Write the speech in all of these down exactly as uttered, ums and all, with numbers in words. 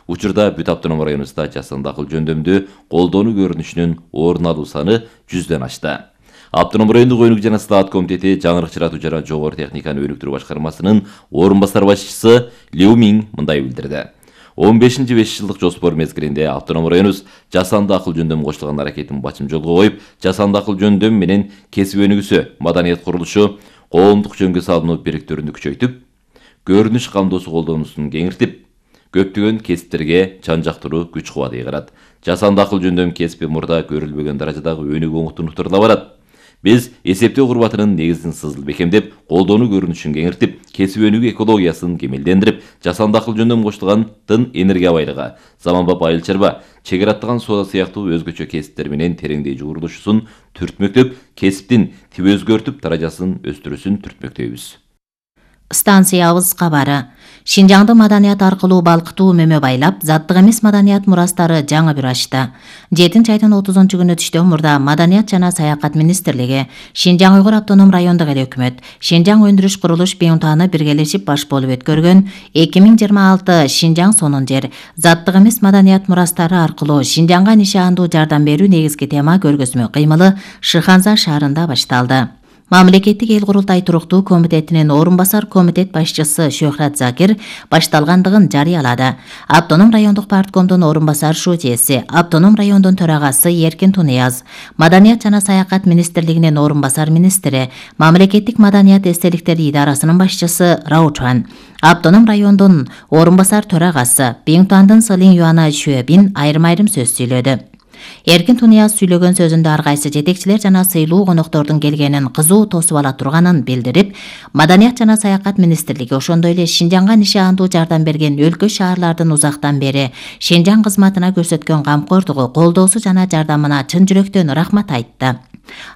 Учурда бүт автоном районубузда жасанды акыл жөндөмдү колдонуу көрүнүшүнүн орун алуу саны жүздөн ашты. Автоном райондук өнүк жана стаат комитети жаңырык чыратуу жана жогору техниканы өнүктүрүү башкармасынын орун басар башчысы Лю Миң мындай билдирди. он бешинчи беш жылдык жоспор мезгилинде автоном районубуз жасанды акыл жөндөм кошулган аракетин бачым жолго коюп, жасанды акыл жөндөм менен кесип өнүгүүсү, маданият курулушу, коомдук жөнгө салынуу бириктөрүндү күчөйтүп, көрүнүш камдоосу колдонуусун кеңиртип, көптөгөн кесиптерге жан жактыруу күч кубат ыйгарат. Жасанды акыл жөндөм кесипи мурда көрүлбөгөн даражадагы өнүгүү оңуктунуктарына барат. Биз эсептөө курбатынын негизин сызыл бекемдеп, колдонуу көрүнүшүн кеңиртип, кесип өнүгүү экологиясын кемелдендирип, жасанды акыл жөндөм кошулган тын энергия байлыгы, заманбап айыл чарба, чегер аттаган соода сыяктуу өзгөчө кесиптер менен тереңдей жуурулушусун түртмөктөп, кесиптин тип өзгөртүп, даражасын өстүрүүсүн түртмөктөйбүз. Станциябыз кабары. Шинжаңды маданият аркылуу балкытуу мөмө байлап, заттык эмес маданият мурастары жаңы бир ачты. жетинчи айдын отузунчу күнү түштөн мурда Маданият жана саякат министрлиги, Шинжаң Уйгур автоном райондук эл өкмөт, Шинжаң өндүрүш курулуш бюнтаны биргелешип баш болуп өткөргөн эки миң жыйырма алты Шинжаң сонун жер, заттык эмес маданият мурастары аркылуу Шинжаңга нишандуу жардам берүү негизги тема көргөзмө кыймылы Шыханза шаарында башталды. Мамлекеттик эл курултай туруктуу комитетинин орун басар комитет башчысы Шөхрат Закир башталгандыгын жарыялады. Автоном райондук парткомдун орун басар шутиеси, автоном райондун төрагасы Эркин Тунияз, Маданият жана саякат министрлигинин орун басар министри, Мамлекеттик маданият эстеликтери идарасынын башчысы Раучан, автоном райондун орун басар төрагасы Биңтуандын Сылин Юана Шөбин айрым-айрым сөз сүйлөдү. Эркин Тунияз сүйлөгөн сөзүндө ар кайсы жетекчилер жана сыйлуу коноктордун келгенин кызуу тосуп ала турганын билдирип, Маданият жана саякат министрлиги ошондой эле Шинжаңга нишандуу жардам берген өлкө шаарлардын узактан бери Шинжаң кызматына көрсөткөн камкордугу, колдоосу жана жардамына чын жүрөктөн рахмат айтты.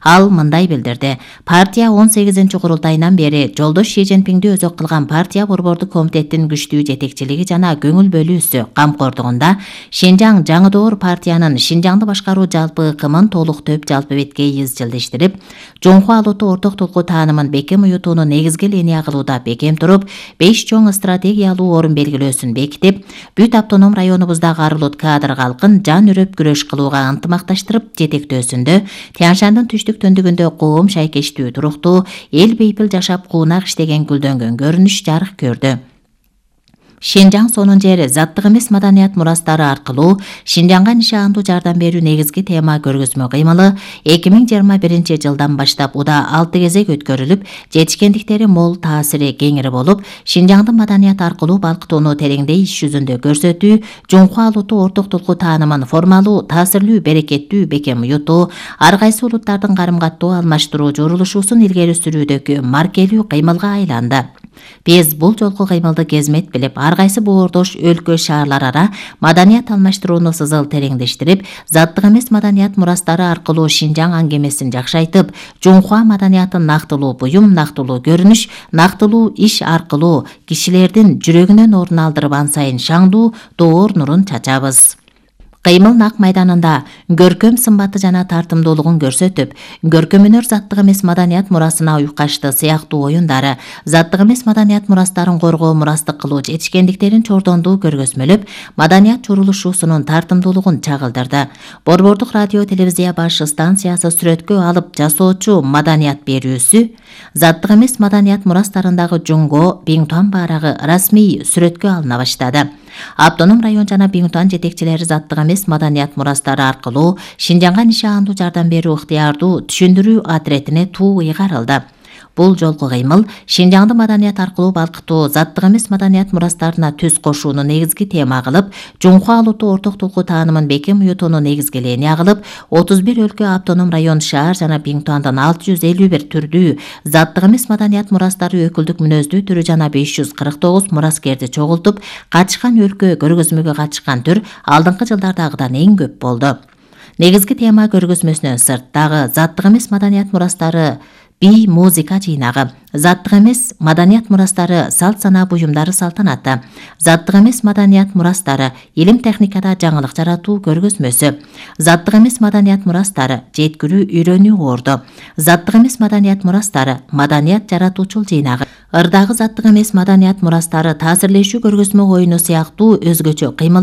Ал мындай билдирди. Партия он сегизинчи курултайынан бери жолдош Ши Цзиньпинди өзөк кылган партия борбордук комитеттин күчтүү жетекчилиги жана көңүл бөлүүсү камкордугунда Шинжаң жаңы доор партиянын Шинжаңды башкаруу жалпы ыкымын толук төп жалпы бетке изжилдештирип, жоңку алууту орток толку таанымын бекем уютууну негизги линия кылууда бекем туруп, беш чоң стратегиялуу орун белгилөөсүн бекитип, бүт автоном районубуздагы арылут кадр калкын жан үрөп күрөш кылууга ынтымакташтырып жетектөөсүндө Тянь-Шандын түштүк төндүгүндө коом шайкештүү туруктуу эл бейпил жашап куунак иштеген гүлдөнгөн көрүнүш жарык көрдү. Шинжаң сонун жер, заттык эмес маданият мурастары аркылуу Шинжаңга нишандуу жардам берүү негизги тема көргөзмө кыймылы эки миң жыйырма биринчи жылдан баштап уда алты кезек өткөрүлүп, жетишкендиктери мол, таасири кеңири болуп, Шинжаңды маданият аркылуу балкытууну тереңдей иш жүзүндө көрсөтүү, жоңку алууту орток толку таанымын формалуу, таасирлүү, берекеттүү бекем уютуу, ар кайсы улуттардын карым-каттоо алмаштыруу журулушуусун илгери сүрүүдөгү маркелүү кыймылга айланды. Биз бул жолку кыймылды кезмет билип, ар кайсы боордош өлкө шаарлар ара маданият алмаштырууну сызыл тереңдештирип, заттык эмес маданият мурастары аркылуу Шинжаң аңгемесин жакшайтып, жоңкуа маданиятын нактылуу буюм, нактылуу көрүнүш, нактылуу иш аркылуу кишилердин жүрөгүнөн орун алдырып, ан сайын шаңдуу доор нурун чачабыз. Кыймыл нак майданында көркөм сымбаты жана тартымдуулугун көрсөтүп, көркөмүнөр заттык эмес маданият мурасына уйкашты сыяктуу оюндары, заттык эмес маданият мурастарын коргоо, мурастык кылуу жетишкендиктерин чордондуу көргөзмөлөп, маданият чурулушуусунун тартымдуулугун чагылдырды. Борбордук радио телевизия баш станциясы сүрөткө алып жасоочу маданият берүүсү, заттык эмес маданият мурастарындагы Жунго, Биңтуан баарагы расмий сүрөткө алына баштады. Автоном район жана Биңтуан жетекчилери заттык эмес маданият мурастары аркылуу Шинжаңга нишандуу жардам берүү ыктыярдуу түшүндүрүү отретине туу ыйгарылды. Бул жолку кыймыл Шинжаңды маданият аркылуу балкытуу, заттык эмес маданият мурастарына түз кошууну негизги тема кылып, жоңку алууту орток толку таанымын бекем уютууну негизги линия кылып, отуз бир өлкө автоном район шаар жана Биңтуандын алты жүз элүү бир түрдүү, заттык эмес маданият мурастары өкүлдүк мүнөздүү түрү жана беш жүз кырк тогуз мураскерди чогултуп, катышкан өлкө көргөзмөгө катышкан түр алдыңкы жылдардагыдан эң көп болду. Негизги тема көргөзмөсүнөн сырт дагы заттык эмес маданият мурастары би музыка жыйнагы, заттык эмес маданият мурастары салт санаа буюмдары салтанаты, заттык эмес маданият мурастары илим техникада жаңылык жаратуу көргөзмөсү, заттык эмес маданият мурастары жеткирүү үйрөнүү орду, заттык эмес маданият мурастары маданият жаратуучул жыйнагы, ырдагы заттык эмес маданият мурастары таасирлешүү көргөзмө оюну сыяктуу өзгөчө кыймыл